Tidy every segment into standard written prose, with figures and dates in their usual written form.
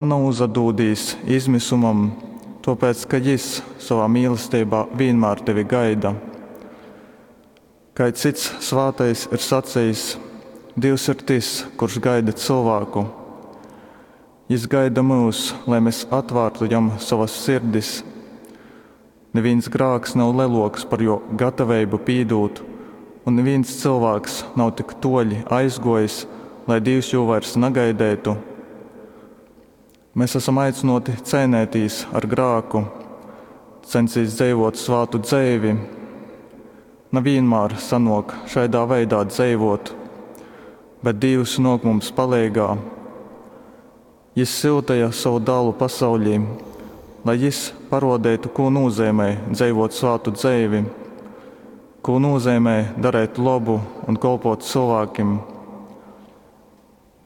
Nauzadūdīs izmisumam, tōpēc ka Jys sovā mīlesteibā vīnmār tevi gaida. Kai cyts svātais ir sacejis, Dīvs ir tys, kurš gaida cylvāku. Jys gaida myus, lai mes atvārtu Jam sovas sirdis. Nivīns grāks nav lelōks par Jō gataveibu pīdūt, un nivīns cylvāks nav tik tōļi aizgōjis, lai Dīvs jū vairs nagaideitu. Mes asam aicynōti ceineitīs ar grāku, censīs dzeivōt svātu dzeivi. Na vīnmār sanōk šaidā veidā dzeivōt, bet Dīvs nōk mums paleigā. Jys syuteja sovu Dālu pasauļī, lai Jys parōdeitu, kū nūzeimej dzeivōt svātu dzeivi, kū nūzeimej dareit lobu un kolpōt cylvākim.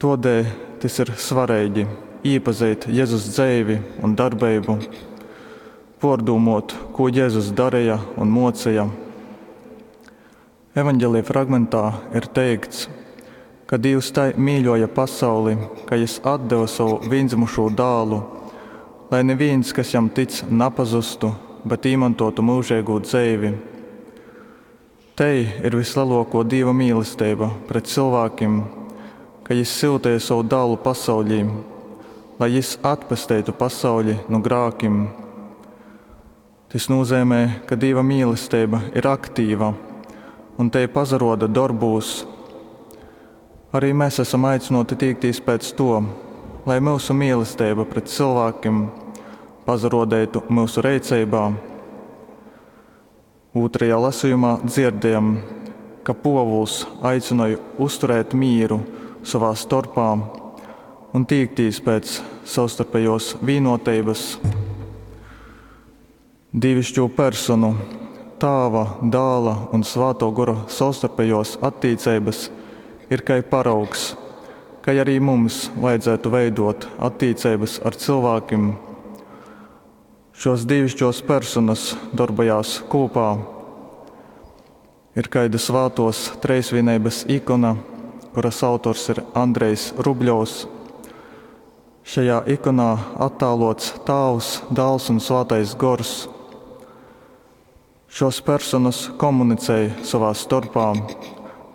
Tōdēļ tys ir svareigi īpazeit Jezus dzeivi un darbeibu, pōrdūmōt, kū Jezus dareja un mōceja. Evaņgelija fragmentā ir teikts, ka Dīvs tai mīļōja pasauli, ka Jys atdeva sovu vīndzymušū dālu, lai nivīns, kas jam tic, napazustu, bet īmontōtu myužeigū dzeivi. Tei ir vyslelōkō Dīva mīlesteiba pret cylvākim, ka Jys syuteja sovu dālu pasauļī, lai Jys atpesteitu pasauļi nu grākim. Tys nūzeimej, ka Dīva mīlesteiba ir aktīva un tei pasarōda dorbūs. Arī mes asam aicynōti tīktīs pēc to, lai myusu mīlesteiba pret cylvākim pasarōdeitu myusu reiceibā. Ūtrajā lasejumā dzierdējam, ka Pōvuls aicynoj uzturēt mīru sovā storpā un tīktīs pēc savstarpejōs vīnōteibys. Dīviškū personu, Tāva, Dāla un Svātō Gora savstarpejōs attīceibys ir kai paraugs, kai arī mums vajadzētu veidōt attīceibys ar cylvākim. Šōs dīviškōs personys dorbojās kūpā. Ir kaida Svātōs Treisvīneibys ikona, kuras autors ir Andrejs Rubļovs. Šajā ikonā attālōts Tāvs, Dāls un Svātais Gors. Šōs personys komunicej sovā storpā,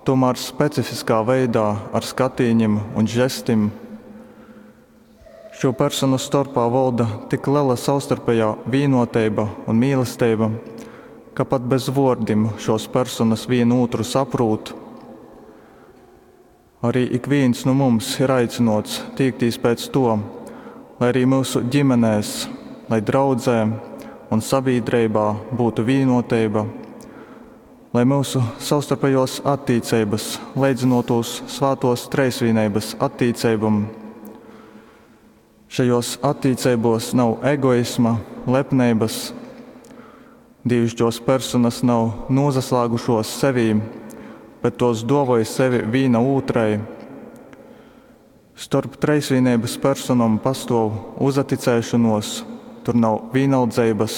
tūmār specifiskā veidā ar skatīņim un žestim. Šo personu storpā volda tik lela savstarpejā vīnōteiba un mīlesteiba, ka pat bez vōrdim šōs personys vīnu ūtru saprūt. Arī ikvīns nu mums ir aicynōts tīktīs pēc to, lai arī myusu ģimenēs, lai draudzē un sabīdreibā būtu vīnōteiba, lai myusu savstarpejōs attīceibys leidzynōtūs Svātōs Treisvīneibys attīceibom. Šajōs attīceibōs nav egoisma, lepneibys. Dīviškōs personys nav nūsaslāgušōs sevī, bet tōs dōvoj sevi vīna ūtrai. Storp Treisvīneibys personom pastōv uzaticēšonōs, tur nav vīnaldzeibys.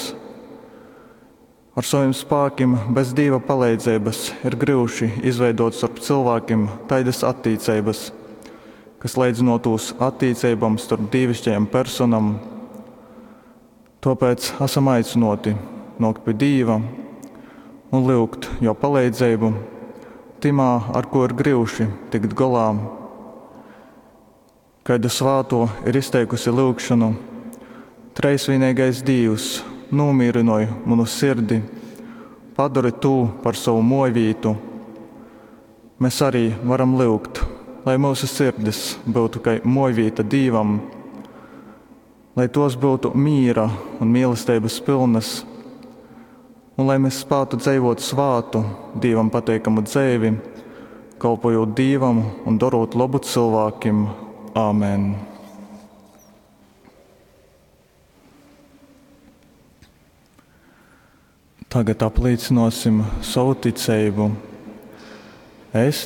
Ar sovim spākim bez Dīva paleidzeibys ir gryuši izveidōt storp cylvākim taidys attīceibys, kas leidzynōtūs attīceibom storp dīviškajom personom. Tōpēc asam aicynōti nōkt pi Dīva un lyugt Jō paleidzeibu tymā, ar kū ir gryuši tikt golā. Kaida svātō ir izteikusi lyugšonu: Treisvīneigais Dīvs, nūmīrynoj munu sirdi, padori tū par sovu mōjvītu. Mes arī varam lyugt, lai myusu sirdis byutu kai mōjvīta Dīvam, lai tōs byutu mīra un mīlesteibys pylnys, un lai mes spātu dzeivōt svātu, Dīvam pateikamu dzeivi, kolpojūt Dīvam un dorot lobu cylvākim. Āmen. Tagad aplīcynōsim sovu ticeibu. Es.